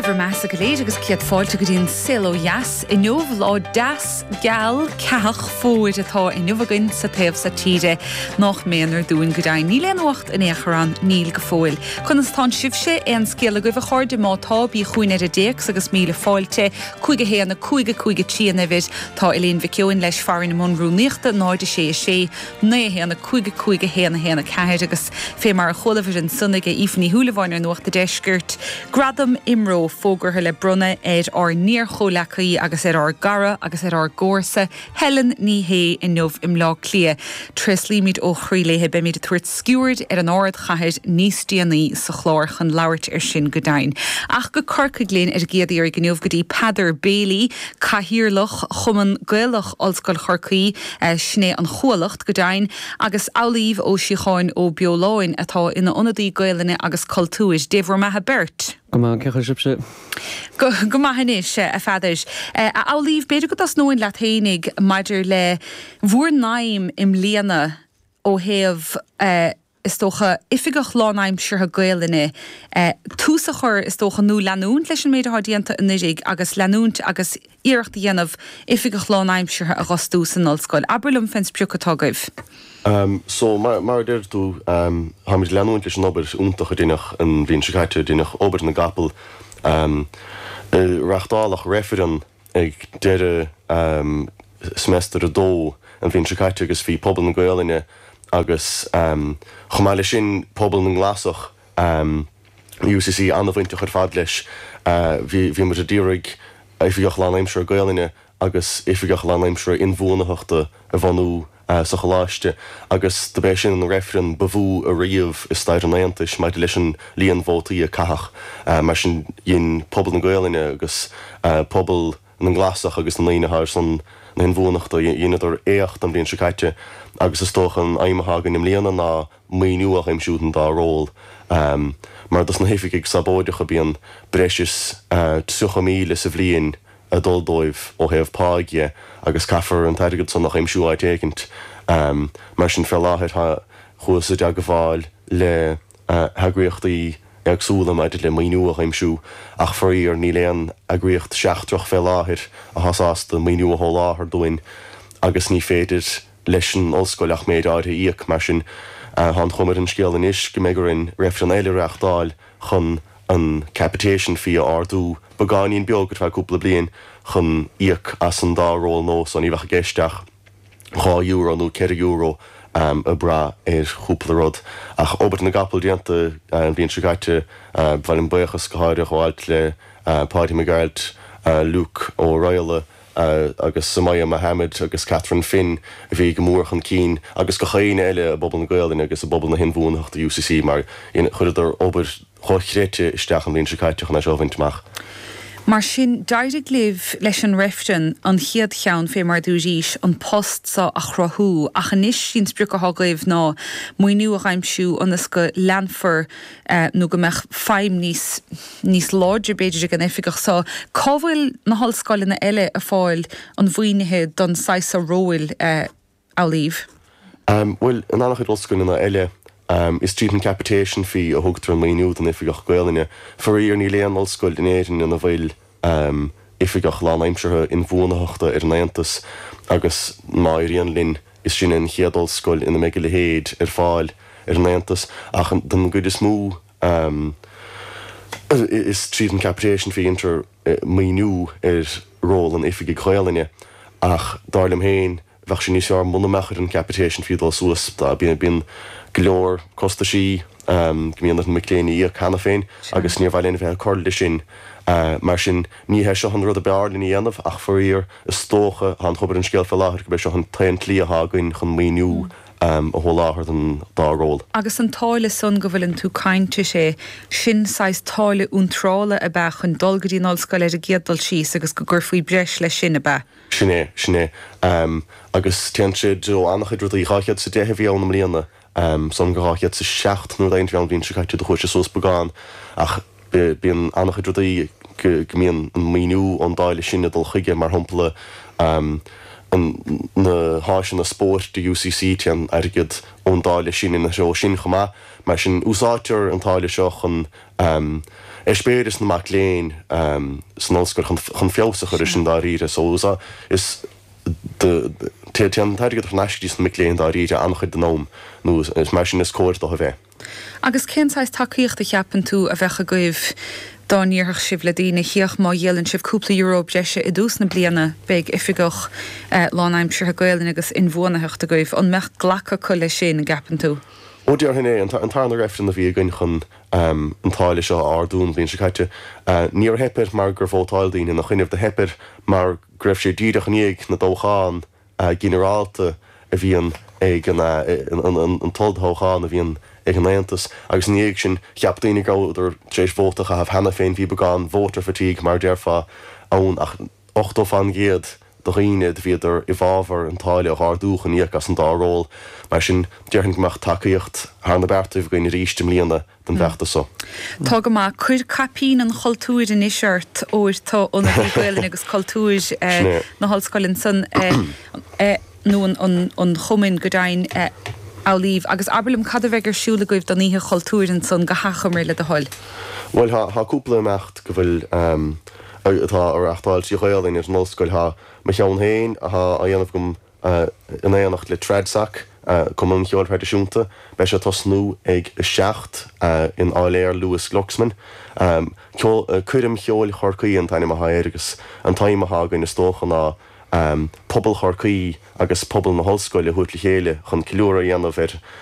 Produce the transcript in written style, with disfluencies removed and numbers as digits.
bhur mbeathasa go léir agus céad fáilte go dtí an Saol Ó Dheas. Inniu, lá deas, geal, ceathach fómhair atá inniu againn sa taobh so tíre. Nách méanar dúinn go deimhin. Níl aon fhuacht in aon chor ann, níl go fóill. Conas tánn sibhse? Aon scéal agaibh a chairde? Má tá, bí chugainn ar an dtéacs agus míle fáilte. 5 1 5 5 3 an uimhir. Tá Elaine Mhic Eoin leis fear i mbun rúnaíochta 0 6 6 9 1 5 5 1 1 4 agus fé mar a chualabhair ansan ag Aoife Ní Shúilleabháin ar Nuacht a' Deiscirt, Gradam IMRO fógartha le bronnadh ar ár n-iar-chomhleacaí agus ar ár gcara agus ar ár gcomharsa Helen Ní Shé inniu i mBleá Cliath. Tréaslaímid ó chroí léi. Beimid ag tabhairt sciuird ar an ardchathair níos déanaí sa chlár chun labhairt ar sin go deimhin. Ach go Corcaigh linn ar an gcéad iarraidh inniu go dtí Peadar Bailey, Cathaoirleach Chumann Gaelach Ollscoil Chorcaí, sin é an Chuallacht go deimhin, agus Amhlaoibh Ó Síocháin Ó Beoláin atá ina ionadaí Gaelainne agus Cultúir. Dé bhur mbeatha beirt. Go maith, cén chaoi sibhse? Go maith anois, a Pheadair. A Amhlaoibh, b'fhéidir go dtosnóinn leat fhéinig maidir le bhur n-aidhm i mbliana ó thaobh, is dócha, oifigeach lánaimseartha Gaelainne, tús a chur, is dócha, nó leanúint leis an méid atá déanta anuraidh agus leanúint agus iarracht a dhéanamh oifigeach lánaimseartha a dh'fhostú san ollscoil. Abair liom fén sprioc atá agaibh. So, mar a deir tú, táimid ag leanúint leis an obair iontach a deineadh an bhliain seo caite, deineadh obair na gcapall. Reachtáladh reifreann ag deireadh seimeastar a dó an bhliain seo caite agus bhí pobal na Gaolainne agus chomh maith leis sin pobal na nGlasach, UCC, an-bhainteach ar fad leis. Bhí muid ag iarraidh Oifigeach Lánaimseartha Gaolainne agus Oifigeach Lánaimseartha Inbhuanaitheachta a bhunú sa Choláiste agus dob é sin an reifreann ba mhó ariamh i stair an Aontais maidir leis an líon vótaí a caitheadh. Mar sin dhein pobal na Gaolainne agus pobal na nGlasach agus na ndaoine atá ar son na hinbhuanaitheachta, dheineadar éacht an bhliain seo caite agus is dócha an aidhm atá againn i mbliana ná maoiniú a aimsiú don dá ról. Mar dos na hoifigigh sabóideacha bíonn breis is 30,000 sa bhliain ag dul dóibh ó thaobh páigh dhe agus caithfear an t-airgead san a aimsiú áit éicint. Mar sin fé láthair tá, chuathas i dteagmháil le heagraíochtaí éagsúla maidir le maoiniú a aimsiú ach faraor níl aon eagraíocht seachtrach fé láthair atá sásta maoiniú a sholáthar dúinn agus ní féidir leis an ollscoil ach méid áirithe a íoc. Mar sin tá an chuma ar an scéal anois go mbeidh orainn reifreann eile a reáchtáil chun an capitation fee a ardú beagáinín beag ar feadh cúpla bliain chun íoc as an dá ról nua so ní bheadh i gceist ach €2 nó €4 ag brath ar chúpla rud. Ach obair na gcapall déanta an bhliain seo caite, ba mhaith liom buíochas go háirithe a ghabháilt le Páidí Mac Gearailt, Luke Ó Raghallaigh, agus Sumaya Mohammed agus Catherine Finn a bhí go mór chun cinn agus gach éinne eile i bpobal na Gaolainne agus i bpobal na hinbhuanaitheachta UCC mar chuireadar obair dhochreidte isteach an bhliain seo caite chun é seo a bhaint amach. Mar sin, d'éirigh libh leis an reifreann, an chéad cheann, fé mar dúraís, an post so a chruthú, ach anois sí an sprioc athá agaibh ná maoiniú a dh'aimsiú ionas go leanfar nó go mbeadh feidhm níos níos láidre b'fhéidir ag an oifigeach so. Cá bhfuil na hollscoileanna eile ag fáil an mhaoinithe don saghas so róil, a Amhlaoibh? Bhuel, in an-chuid ollscoileanna eile, is tríd an capitation fee a thugtar an maoiniú don oifigeach Gaolainne. Faraor, níl aon ollscoil in Éirinn ina bhfuil oifigeach lánaimseartha inbhuanaitheachta ar an aontas agus má éiríonn linn, is sinne an chéad ollscoil ina mbeidh a leithéid ar fáil ar an aontas. Ach don gcuid is mó, Is tríd an capitation fee a dhéantar maoiniú ar ról an oifigigh Ghaolainne ach dar liom féin bheadh sé níos fearr muna mbeadh ar an capitation fee dul suas. Bíonn go leor costaisí go mbíonn ar na mic léinn a íoc cheana féin agus níor mhaith linn a bheith ag cur leis sin. Mar sin ní hé seo an rud ab fhearr linn a dhéanamh ach faraor is dócha, tá an chuma ar an scéal fé láthair gurb é seo an t-aon tslí atá againn chun maoiniú a sholáthar don dá ról. Agus an táille san go bhfuileann tú caint uirthi, sin saghas táille iontrála ab ea chun dul go dtí an ollscoil ar an gcéad dul síos agus go gcuirfí breis leis sin, ab ea? Sin é, sin é. Agus téann sé i dtreo an-chuid rudaí. 210 a bhí ann i mbliana, san go 207 nó rud éigin a bhí ann an bhliain seo caite, do chuaigh sé suas beagán ach bíonn an-chuid rudaí go mbíonn an maoiniú ón dtáille sin ag dul chuige, mar shampla an. Na háiseanna spóirt do UCC, téann airgead ón dtáille sin ina threo sin chomh maith. Mar sin, úsáidtear an táille seo chun eispéireas na mac léinn san ollscoil, chun feabhas a chur air sin dáiríre. So, is téann an t-airgead thar n-ais go dtí sna mic léinn dáiríre an-chuid den am, nó is mar sin is cóir dó a bheith. Agus cén saghas tacaíocht a cheapann tú a bheadh agaibh dá ndéarfadh sibh le daoine, féach, má dhíolann sibh cúpla euro breise i dtús na bliana, beidh oifigeach lánaimseartha Gaelainne agus inbhuanaitheachta agaibh. An mbeadh glacadh acu leis sin, an gceapann tú? Ó, déarfainn é. An tarna reifreann a bhí againn chun an táille seo a ardú an bhliain seo caite, níor theip air mar gur vótáil daoine ina choinnibh, do theip air mar go raibh sé díreach i ndiaidh na dtoghchán ginearálta a bhíonn ag an an t-olltoghchán a bhíonn ag an Aontas agus ina dhiaidh sin cheap daoine go rabhadar tar éis vóta a chaitheamh cheana féin, bhí beagán voter fatigue mar a déarfá ann ach 80% de dhaoine do bhíodar i bhfabhar an táille a ardú chun íoc as an dá ról. Mar sin déarfainn go mbeadh tacaíocht thar na beartaibh againn arís i mbliana. don bhfeachtas so. Tá go maith. Cuir caipín an chultúir anois ort, óir tá Ionadaí Gaelainne agus Cultúir na hOllscoile ansan, nó an Chumainn go deimhin, Amhlaoibh. Agus abair liom cad a bheidh ar siúl agaibh don Oíche Chultúir ansan, go hachomair, le do thoil. Bhuel, tá cúpla imeacht go bhfuil, atá á reáchtáil trí Ghaelainn ar an ollscoil. Tá mo cheann féin atá á dhéanamh agam In éineacht le Tradsoc, Cumann an Cheoil Thraidisiúnta, beidh sé ag tosnú ag 7 in Áiléar Lewis Glucksman. Coirm Cheoil Chorcaí an t-ainm atá air agus an t-aidhm atá againn is dócha ná pobal Chorcaí agus pobal na hollscoile a thabhairt le chéile chun ceiliúradh a dhéanamh ar.